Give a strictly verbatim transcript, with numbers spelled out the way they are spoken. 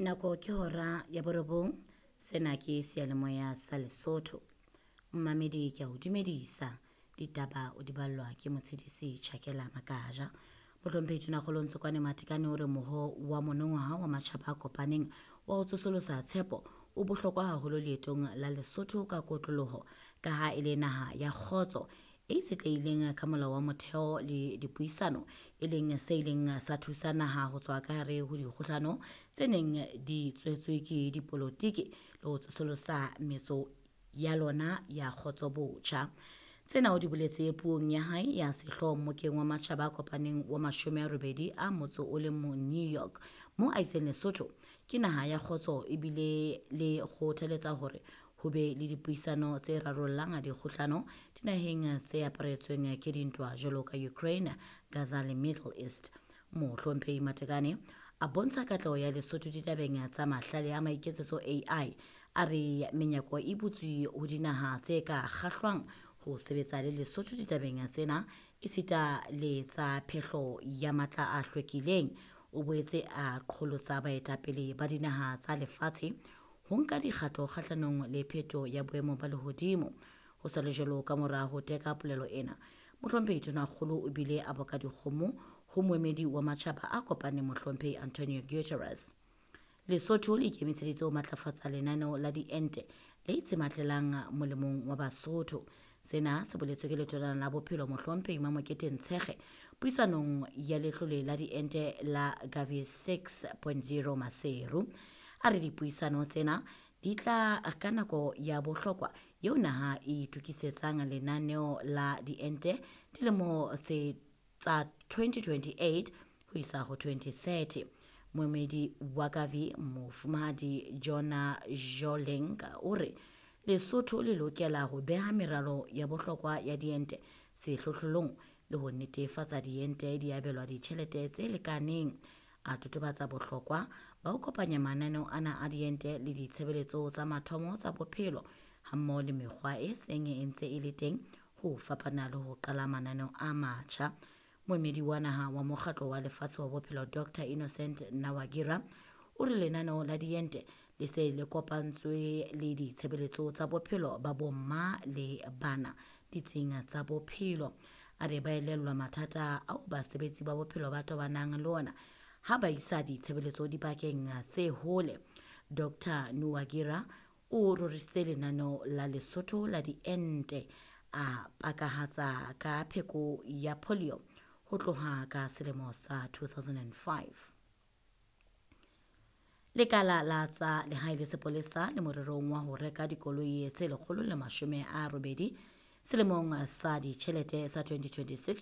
Nako ke hora ya borobong. Sena ke seyalemoya sa Lesotho. Mmamedi ke a o dumedisa. Ditaba o di ballwa ke motshedisi Tjhakela Makaja. Mohlomphehi Tonakgolo Ntsokoane Matekane o re moho wa monongwaha wa matjhaba a kopaneng wa ho tsosolosa tshepo o bohlokwa haholo leetong la Lesotho ka kotloloho ka ha e le naha ya kgotso e itshetlehileng ka molao wa motheo le dipuisano, e leng se ileng sa thusa naha ho tswa ka hare ho dikgohlano tse neng di tswetswe ke dipolotiki le ho tsosolosa metso ya lona ya kgotso botjha. Tsena o di boletse puong ya hae ya sehlooho mmokeng wa matjhaba a kopaneng wa mashome a robedi a motso o le mong New York, moo a itseng Lesotho ke naha ya kgotso ebile le kgothaletsa hore ho be le dipuisano tse rarollang dikgohlano dinaheng tse aparetsweng ke dintwa jwalo ka Ukraine, Gaza le Middle East. Mohlomphehi Matekane a bontsha katleho ya Lesotho ditabeng tsa mahlale a maiketsetso A I. A re menyako e butswe ho dinaha tse ka kgahlwang ho sebetsa le Lesotho ditabeng tsena esita le tsa phehlo ya matla a hlwekileng. O boetse a qholotsa baetapele ba dinaha tsa lefatshe ho nka dikgato kgahlanong le pheto ya boemo ba lehodimo. Ho sa le jwalo, ka mora ho teka polelo ena, Mohlomphehi Tonakgolo o bile a boka dikgomo ho moemedi wa matjhaba a kopaneng Mohlomphehi Antonio Guterres. Lesotho le ikemiseditse ho matlafatsa lenaneo la diente le itshematlelang molemong wa Basotho. Sena se boletswe ke letona la bophelo Mohlomphehi Mamokete Ntshekge puisanong ya letlole la diente la Gavi six point zero Maseru. A re dipuisano tsena di tla ka nako ya bohlokwa eo naha e itokisetsang lenaneo la diente dilemo tse tsa twenty twenty-eight ho isa ho twenty thirty. Moemedi wa Gavi Mofumahadi Jona Jolenka o re Lesotho le lokela ho beha meralo ya bohlokwa ya diente sehlohlolong le ho netefatsa diente di abelwa ditjhelete tse lekaneng. A totobatsa bohlokwa ba ho kopanya mananeo ana a diente le ditshebeletso tsa mathomo tsa bophelo hammoho le mekgwa e seng e ntse e le teng ho fapana le ho qala mananeo a matjha. Moemedi wa naha wa mokgatlo wa lefatshe wa bophelo Doctor Innocent Nawagira o re lenaneo la diente le se le kopantswe le ditshebeletso tsa bophelo ba bomma le bana ditsing tsa bophelo. A re ba elellwa mathata ao basebetsi ba bophelo ba tobanang le ona ha ba isa ditshebeletso dibakeng tse hole. Doctor Nuwagira o rorisitse lenaneo la Lesotho la diente, a pakahatsa ka pheko ya polio ho tloha ka selemo sa two thousand and five. Lekala la tsa lehae le sepolesa le morerong wa ho reka dikoloi tse lekgolo le mashome a robedi selemong sa ditjhelete sa twenty twenty-six.